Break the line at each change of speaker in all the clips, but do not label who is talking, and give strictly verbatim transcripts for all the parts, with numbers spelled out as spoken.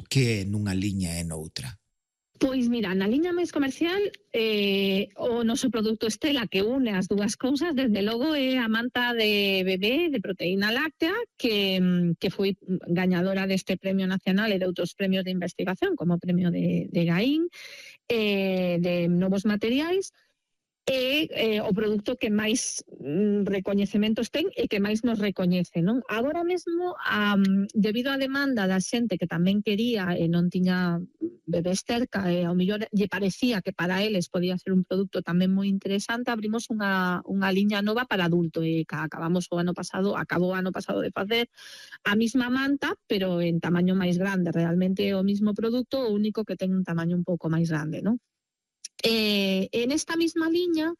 que nunha liña e noutra?
Pois mira, na liña máis comercial eh, o noso produto estrela que une as dúas cousas, desde logo, é a manta de bebé de proteína láctea que, que foi gañadora deste Premio Nacional e de outros premios de investigación, como o Premio de, de Gaín, eh, de novos materiais. É eh, o produto que máis mm, recoñecementos ten e que máis nos recoñece, non? Agora mesmo, um, debido á demanda da xente que tamén quería e non tiña bebés cerca e ao mellor lle parecía que para eles podía ser un produto tamén moi interesante, abrimos unha, unha liña nova para adulto e acabamos o ano pasado, acabou o ano pasado de facer a mesma manta, pero en tamaño máis grande. Realmente é o mesmo produto, o único que ten un tamaño un pouco máis grande, non? Eh, en esta mesma liña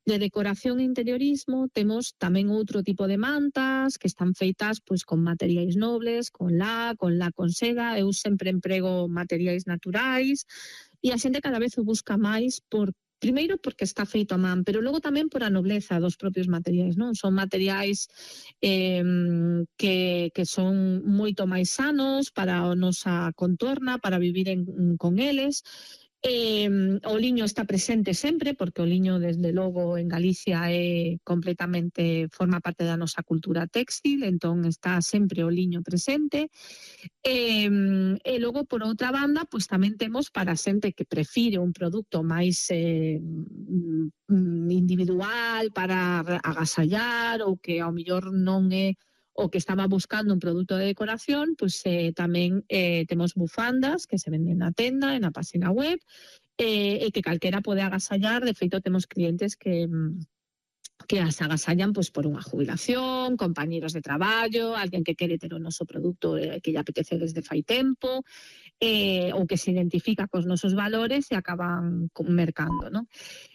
de decoración e interiorismo temos tamén outro tipo de mantas que están feitas pois con materiais nobles, con la, con la con seda. Eu sempre emprego materiais naturais e a xente cada vez o busca máis por primeiro porque está feito a man, pero logo tamén por a nobleza dos propios materiais, non? Son materiais eh, que, que son moito máis sanos para a nosa contorna, para vivir en, con eles. Eh, o liño está presente sempre, porque o liño, desde logo, en Galicia é completamente, forma parte da nosa cultura téxtil, entón está sempre o liño presente. E, e logo, por outra banda, pois tamén temos para a xente que prefire un produto máis eh, individual para agasallar ou que ao mellor non é o que estaba buscando un produto de decoración, pois eh, tamén eh, temos bufandas que se venden na tenda, na página web, eh, e que calquera pode agasallar. De feito, temos clientes que... que as agasallan pois, por unha jubilación, compañeros de traballo, alguén que quere ter o noso produto eh, que lle apetece desde fai tempo, eh, ou que se identifica cos nosos valores e acaban mercando, non?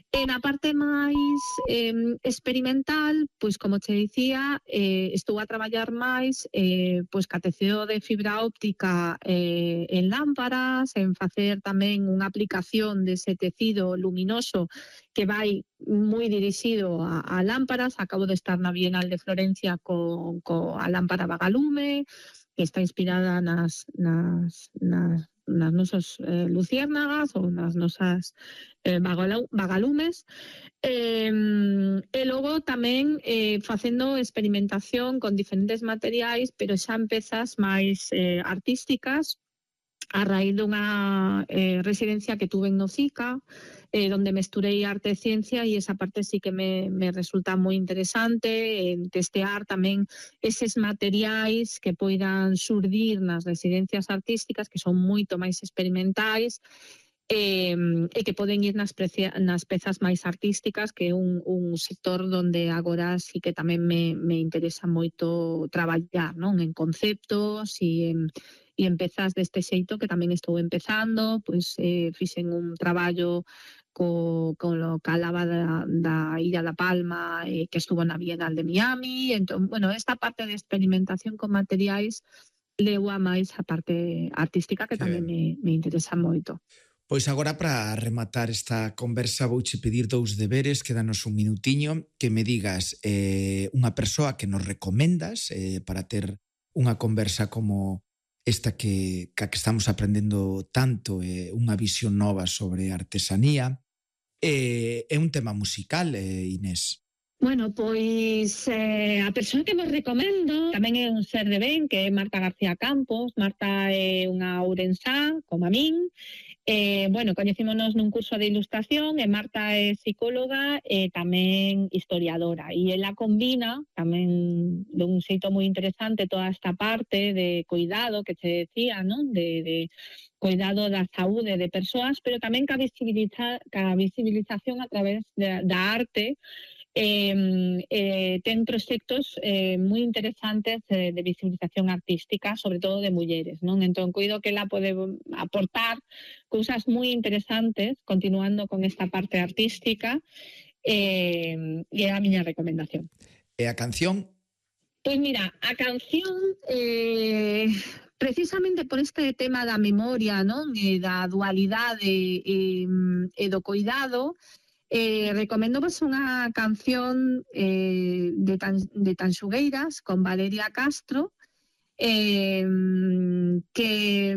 E na parte máis eh, experimental, pois como te dicía, eh, estou a traballar máis eh, pois ca teceo de fibra óptica eh, en lámparas, en facer tamén unha aplicación dese tecido luminoso que vai moi dirixido a, a lámparas. Acabo de estar na Bienal de Florencia co, co a lámpara vagalume, que está inspirada nas, nas, nas nas nosas eh, luciérnagas ou nas nosas eh, vagalumes. Eh, e logo tamén eh, facendo experimentación con diferentes materiais, pero xa en pezas máis eh, artísticas, a raíz dunha eh, residencia que tuve en Nocica, eh, donde mesturei arte e ciencia, e esa parte sí que me, me resulta moi interesante, en testear tamén eses materiais que poidan surdir nas residencias artísticas, que son moito máis experimentais, e, e que poden ir nas, precia, nas pezas máis artísticas, que é un, un sector donde agora sí que tamén me, me interesa moito traballar, non? En conceptos e en e en pezas deste xeito que tamén estou empezando. Pois eh, fixen un traballo co, co lo calaba da, da Illa da Palma, eh, que estuvo na Bienal de Miami. Entón, bueno, esta parte de experimentación con materiais leu a máis a parte artística, que tamén me, me interesa moito.
Pois agora, para rematar esta conversa, vouche pedir dous deberes, quédanos un minutiño, que me digas eh, unha persoa que nos recomendas eh, para ter unha conversa como esta que, que estamos aprendendo tanto, é eh, unha visión nova sobre artesanía. É eh, un tema musical, eh, Inés.
Bueno, pois eh, a persoa que vos recomendo tamén é un ser de ben, que é Marta García Campos. Marta é unha ourensá, como a min. Eh, bueno, coñecímonos nun curso de ilustración, e Marta é psicóloga e tamén historiadora, e ela combina tamén dun xeito moi interesante toda esta parte de cuidado que te decía, non? De, de cuidado da saúde de persoas, pero tamén ca, visibiliza, ca visibilización a través de, da arte. Eh, eh, ten proxectos eh, moi interesantes eh, de visibilización artística, sobre todo de mulleres, non? Entón, coido que ela pode aportar cousas moi interesantes, continuando con esta parte artística, eh, e é a miña recomendación.
E a canción?
Pois mira, a canción... Eh, precisamente por este tema da memoria, non? E da dualidade e, e do cuidado, Eh, recomendo vos unha canción eh, de, tan, de Tanxugueiras con Valeria Castro, eh, que,